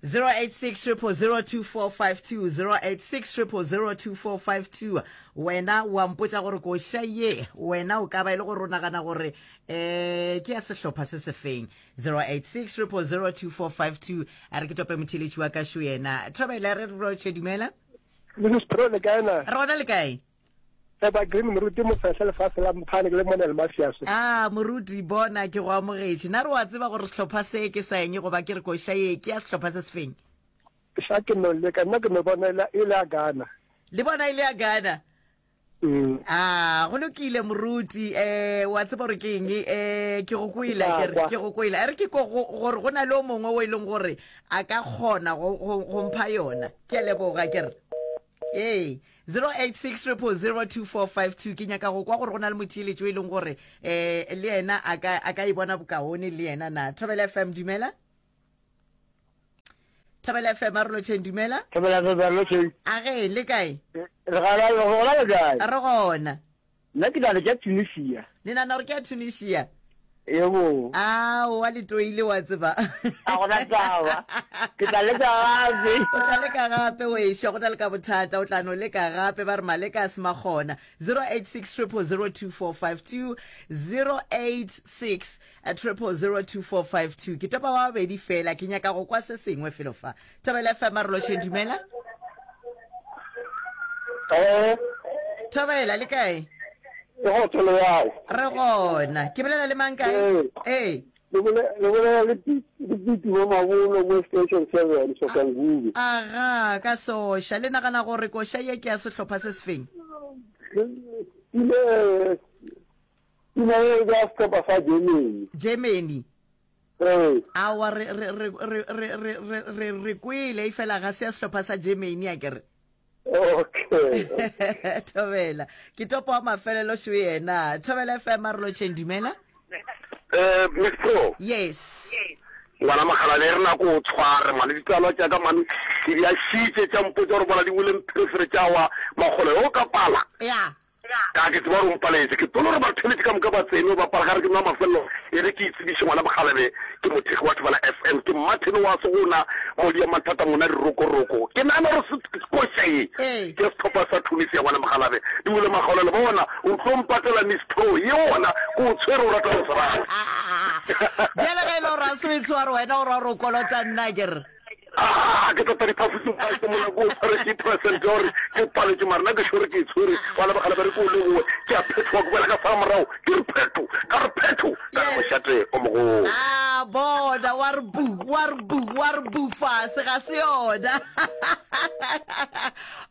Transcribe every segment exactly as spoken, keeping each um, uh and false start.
Zero eight six triple zero two four five two zero eight six triple zero two four five two Wena wa mpotša gore koša ye wena o ka ba e le gore o nagana gore um ke ya sehlopha se sefeng. Zero eight six triple zero two four five two A re ke tope motheeletši wa ka šo yena. Thobela re re rotšhe dumela. Mrs Pro le kae na? Re gona le kae? Eba Green Moruti Mofehla lefase la Mphane ke le mona le Mafiase. Ah Moruti bona ke go amogetše. Na re wa tseba gore sehlopha se ke sa eng goba ke re koša ye ke ya sehlopha se sefeng? Sa ke no leka nna ke no bona e le ya Ghana. Le bona e le ya Ghana? Mm. Ah go lokile Moruti eh wa tseba gore ke eng eh ke go kwele ke re ke go kwele. A re ke ko gore go na le o mongwe o e leng gore a ka kgona go go mpha yona. Ke a leboga ke re. Ee, zero eight six triple zero two four five two ke nyaka go kwa gore go na le motheeletši o e leng gore um le yena a ka a ka e bona bokaone le yena na. Thobela F M dumela. Thobela F M a re lotšheng dumela. Thobela F M a re lotšheng. A ge le kae? Re gona, re gona le kae? Re gona. Nna ke nagana ke ya Tunisia. Le nagana gore ke ya Tunisia? Yebo. Aowa le toile wa tseba. A gona taba. Ke tla leka gape. O tla leka gape wešo, go na le ka bothata, o tla no leka gape, ba re maleka a se makgona. Zero eight six triple zero two four five two, zero eight six triple zero two four five two. Ke topa ba babedi fela, ke nyaka go kwa se sengwe felo fa. Thobela F M a re lošeng, dumela. Eh. Thobela le kae? Ke go tsolo yago. Re gona. Ke bolela le mang kae? Ee. Le bolela le Piti mo Mabolo mo Station seven Soshanguve. Aga, ka soša. Le nagana gore koša ye ke ya sehlopha se sefeng? Pina pina ye ke ya sehlopha sa Germany. Germany. Ee. Aowa re re re re re re re re kwele e fela ga se ya sehlopha sa Germany a ke re. Okay. Thobela. Ke topo wa mafelelo šo yena. Thobela F M a re lotšheng dumela. Eh, Miss Pro. Yes. Ngwana Makgalane e re nako o tshware mane ditsalwa tša ka mane ke di a šitše tša mpotša gore bona di wele mpherefere tša wa makgolo o ka pala. Ya. Ka ke tseba gore o mpaletše ke tolo gore batheletši ka moka ba tsene ba pala ga re ke nwa mafelelo e re ke itsebiše ngwana Mokgalabje ke mothekgi wa Thobela F M ke Martin wa Segona modi ya mathata ngwana dirokoroko ke nagana gore koša ye ke sehlopha sa Tunisia ngwana Mokgalabje di wele makgaolelo bona o tlo mpatela Miss Pro ye ona ke o tshwere o rata go se rate. Bjale ge e le gore a se o e tshware wena o ra gore o kolota nna ke re. Ah, ke tota diphaposi tsa ke mona ko tshware percent ya gore ke paletše mara nna ke sure ke e tshwere wa lebagala ba re ke o leboe ke a phethoga ke boela ka sala morago ke re phetho ka re phetho ka re mošate o mogolo. A bona wa re bu wa re bu wa re bu fase ga se yona.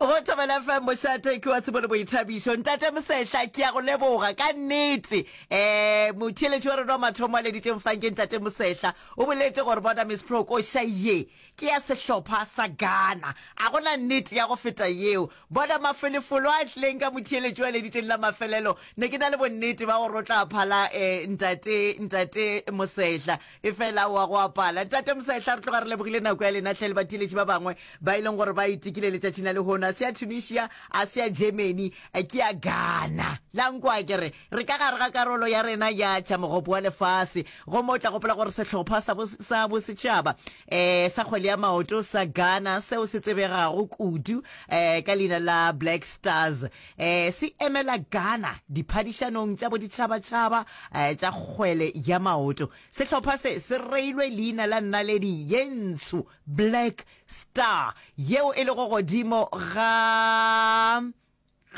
Go Thobela F M mošate ke wa tsebo le boithabišo. Ntate Mosehla ke a go leboga ka nnete. Eh motheeletši wa rena wa mathomo a leditšeng fang ke Ntate Mosehla. O boletše gore bona Miss Pro koša ye ke ya sehlopha sa Ghana. A go na nnete ya go feta yeo. Bona mafelefolo a tlileng ka motheeletši wa leditšeng la mafelelo. Ne ke na le bonnete ba gore o tla phala eh, ntate, ntate Mosehla. Efela wa go apala. Ntate Mosehla, re tloga re lebogile nako ya lena hle le batheeletši ba bangwe ba e leng gore ba itekile letšatšing la lehono. A se ya Tunisia, a se ya Germany, ke ya Ghana. La nkwa ke re, re ka gare ga karolo ya rena ya tša mogopo wa lefase. Gomme o tla gopola gore sehlopha sa, sa bosetšhaba eh, sa kgwele ya maoto sa Ghana seo se tsebegago kudu eh, ka leina la Black Stars eh, se emela Ghana diphadišanong tša boditšhabatšhaba eh, tša kgwele ya maoto. Sehlopha se se reilwe leina la naledi ye ntsho Black Star yeo e lego godimo ga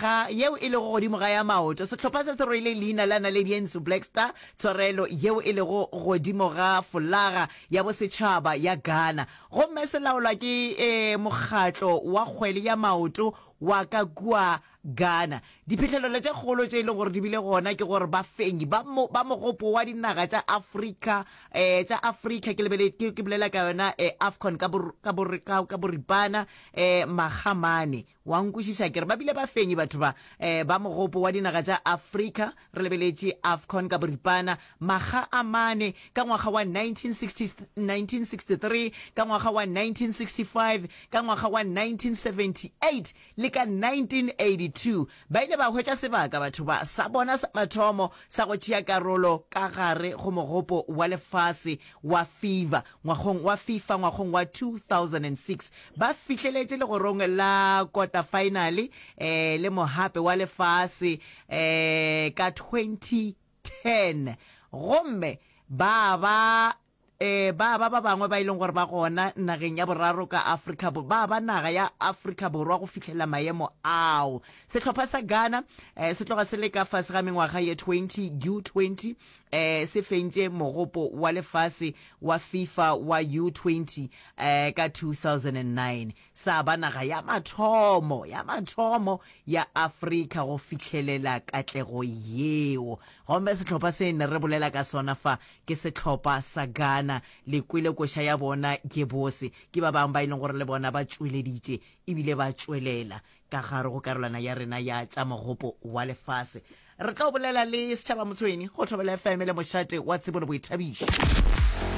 ga yeo e lego godimo ga ya maoto. Sehlopha se se rwele leina la naledi ye ntsho Black Star, tshwarelo, yeo e lego godimo ga folaga ya bosetšhaba ya Ghana, gomme se laolwa ke e, mokgatlo wa kgwele ya maoto wa ka kua Ghana. Diphihlelelo tše kgolo tše e lego gore di bile gona ke gore bafenyi ba, mo, ba mogopo wa dinaga tša Afrika, eh, tša Afrika, ke lebele, ke, ke bolela ka yona eh, AFCON ka, bor, ka, bor, ka, ka boripana, eh, magamane. Wa nkwešiša ke re ba bile bafenyi batho ba, eh, ba mogopo wa dinaga tša Afrika, re lebeletše AFCON ka boripana, makga a mane, ka ngwaga wa nineteen sixty, nineteen sixty-three, ka ngwaga wa nineteen sixty-five, ka ngwaga wa nineteen seventy-eight le le ka nineteen eighty two ba ile ba hwetša sebaka batho ba sa bona sa mathomo sa go tšea karolo ka gare go mogopo wa lefase wa FIFA ngwagong wa FIFA ngwagong wa two thousand and six. Ba fihleletše legorong la kotafaenale eh le mohape wa lefase eh ka twenty ten gomme ba ba eh ba ba ba bangwe ba e leng gore ba gona nageng ya boraro ka Afrika ba ba naga ya Afrika Borwa go fihlela maemo ao. Sehlopha sa Ghana eh se tloga se le ka fase ga mengwaga ye twenty U twenty eh se fentše mogopo wa lefase wa FIFA wa U twenty eh ka two thousand and nine sa ba naga ya mathomo ya mathomo ya Afrika go fihlelela katlego yeo. Gomme sehlopha se ne re bolela ka sona fa ke sehlopha sa Ghana. Le kwele koša ya bona ke bose. Ke ba bangwe ba e leng gore le bona ba tšweleditše ebile ba tšwelela ka gare go karolwana ya rena ya tša mogopo wa lefase. Re tlo bolela le Setšhaba Motshweni go Thobela F M le mošate wa tsebo le boithabišo.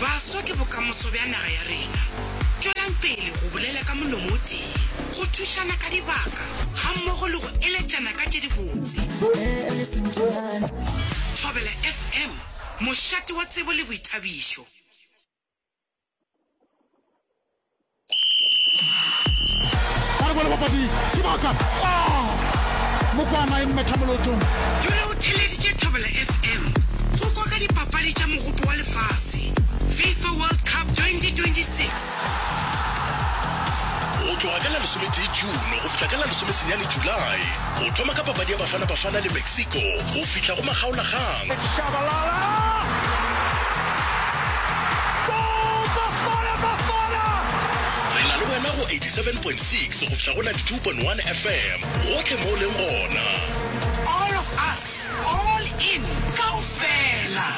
Baswa ke bokamoso bja naga ya rena. Tšwelang pele go bolela ka molomo o tee, go thušana ka dibaka gammogo le go eletšana ka tše dibotse. Thobela F M, mošate wa tsebo le boithabišo. Ba re bone bapadi sebaka. Ah! Mokwana e mmetha molotong. Dula o theeleditše Thobela F M go kwa ka dipapadi tša Mogopo wa Lefase, FIFA World Cup twenty twenty-six. Go tloga ka la lesometee June go fihla ka la lesomesenyane July, go thoma ka papadi ya Bafana Bafana le Mexico go fihla go makgaolakgang. Shabalala! Goal! Bafana Bafana! Re na le wena go eighty-seven point six go fihla go ninety-two point one F M, gohle mo o leng gona. All of us, all in, kaofela.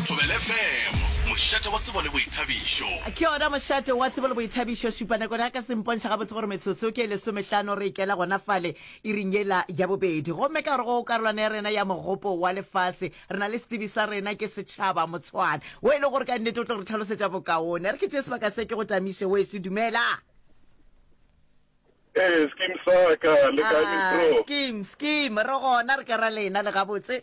Thobela F M, mošate wa tsebo le boithabišo. Ke yona mošate wa tsebo le boithabišo. Šupanako ya ka se mpontšha gabotse gore metsotso ke lesomehlano re ikela gona fale iring yela ya bobedi. Gomme ka gore go karolwana ya rena ya mogopo wa lefase re na le setsebi sa rena ke Setšhaba Motshwana o e le gore ka nnete o tlo re tlhalosetša bokaone. Re ke tšee sebaka se ke go tamiše wešo. Dumela. Ee, skim sa ka le kae Ah, Miss Pro? skim, skim, re gona re ka ra lena le gabotse.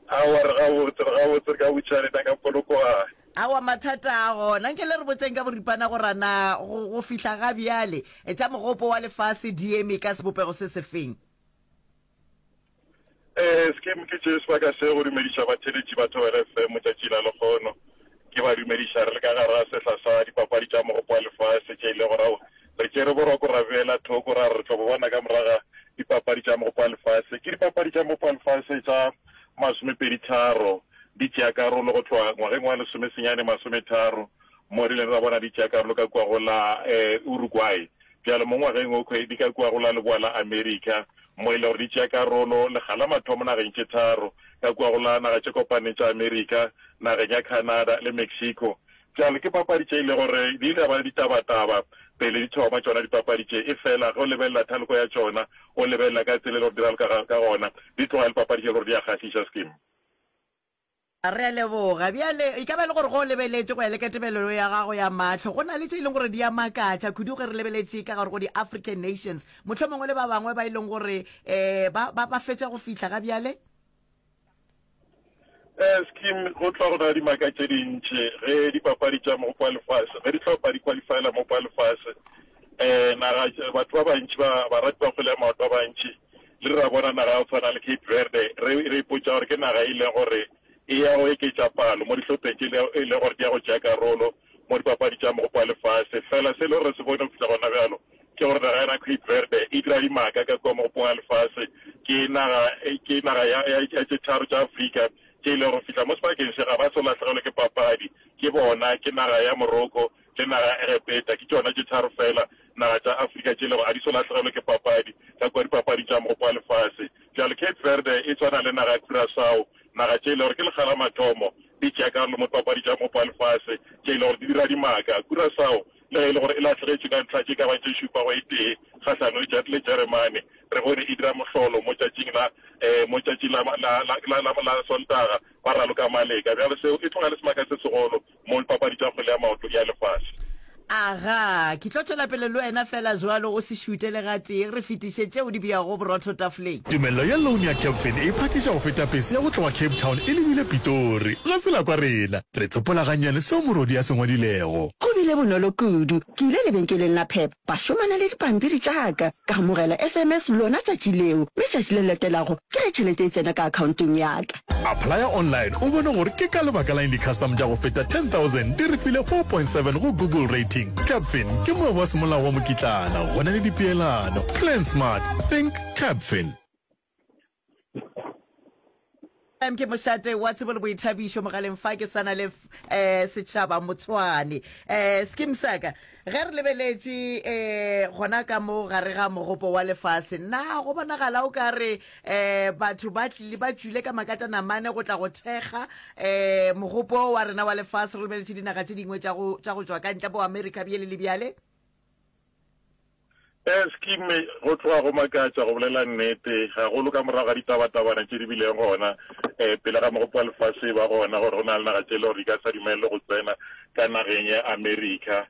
Aowa, re gabotse, re gabotse, re ka botša lena ka Polokwane. Aowa, mathata a gona. Nke le re botšeng ka boripana gore na go, go fihla ga bjale tša mogopo wa lefase di eme ka sebopego se sefeng? Ee, skim ke tšee sebaka se go dumediša batheeletši ba Thobela F M tšatši la lekgono. Ke ba dumediša re le ka gare ga sehla sa dipapadi tša mogopo wa lefase tše e lego gore ao re tšere boroko ra beela thoko ra re re tlo bo bona ka morago ga dipapadi tša mogopo wa lefase. Ke dipapadi tša mogopo wa lefase tša masomepedi tharo di tšea karolo go tloga ngwageng wa lesomesenyane masometharo mo re ileng ra bona di tšea karolo ka kua go la eh, Uruguay. Bjalo mo ngwageng o di ka kua go la leboa la Amerika mo e le gore di tšea karolo lekga la mathomo nageng tše tharo ka kua go la naga tše kopaneng tša Amerika, nageng ya Canada le Mexico. Bjalo ke papadi tše e le gore di ile ba le ditabataba pele di thoma tšona dipapadi tše, efela ge o lebelela thaloko ya tšona, o lebelela ka tsela e le gore di raloka ka, ka gona, di tloga e le papadi tše e le gore di a kgahliša. Skim. Re a leboga. Bjale, e ka ba e le gore ge o lebeletše go ya le ka tebelelo ya gago ya mahlo, go na le tše e leng gore di a makatša kudu ge re lebeletše ka gare go di-African Nations, mohlomongwe le ba bangwe ba e leng gore um ba, ba, ba fetša go fihla ga bjale? Eh, Skim, go tloga go na le dimaka tše dintši ge dipapadi tša mogopo wa lefase, ge dihlopha di qualifyela mogopo wa lefase. Eh, naga, batho ba bantši ba, barati ba kgwele ya maoto ba bantši, le re ra bona naga ya go tshwana le Cape Verde, re, re ipotša gore ke naga e leng gore e ya go eketša palo mo dihlopheng tše e leng gore di ya go tšea karolo mo dipapadi tša mogopo wa lefase. Fela se e le gore re se bone go fihla gona bjalo ke gore naga yona Cape Verde e dira dimaka ka kua mogopong wa lefase. Ke naga, ke naga ya, ya, ya tše tharo tša Afrika tše e lego go fihla mo sebakeng se ga ba so lahlegelwe ke papadi. Ke bona, ke naga ya Morocco le naga ya Egepeta, ke tšona tše tharo fela naga tša Afrika tše e lego a di so lahlegelwe ke papadi ka kua dipapadi tša mogopo wa lefase. Bjalo Cape Verde e tshwana le naga ya Curaçao, naga tše e lego gore ke lekga la mathomo di tšea karolo mo dipapadi tša mogopo wa lefase tše e lego gore di dira dimaka. Curaçao le ge e le gore e lahlegetšwe ka ntlha tše ka bang tše šupa go e tee kgahlanong le, le Jeremane, re bone e dira mohlolo mo tšatšing la eh, mo tšatšing la, la, la, la, la, la Sontaga ba raloka Maleka. Bjalo seo e tloga e le semaka se segolo mo dipapadi tša kgwele ya maoto ya lefase. Aga, ke tlo tšwela pele le wena fela jwalo, o se šute le gatee, re fetiše tšeo di beago borotho tafoleng. Tumello ya loan ya Capfin e phakiša go feta pese ya go tloga Cape Town e lebile Pitori. Ga se la kwa rena, re tsopola gannyane seo morodi a se ngwadilego. Go bile bonolo kudu. Ke ile lebenkeleng la Pep, ba šomana le dipampiri tša ka, ka amogela S M S lona tšatši leo, mme tšatši le le latelago ke ge tšhelete e tsena ka akhaontong ya ka. Applya online o bone gore ke ka lebaka la eng di-custom tša go feta ten thousand di re file four point seven go Google rating. Capfin ke moabi wa semolao wa mokitlana, go na le dipeelano. Plan smart, think Capfin. M ke mošate wa tsebo le boithabišo mogaleng fa ke sana le eh, setšhaba Motshwane. Eh, skim saka ge re lebeletše eh, gona ka mo gare ga mogopo wa lefase, na go bonagala o ka re eh, batho ba tlile ba tšwile ka makatanamane go tla go thekga eh, mogopo wa rena wa lefase, re lebeletše dinaga tše dingwe tša go tša go tšwa ka ntle bo Amerika bjale le bjale? Scheme, go tloga go makatša go bolela nnete, gagolo ka morago ga ditabatabana tše di bileng gona pele ga Mogopo wa Lefase e ba gona gore go na le naga tše e le gore di ka sa dumelelwe go tsena ka nageng ya Amerika.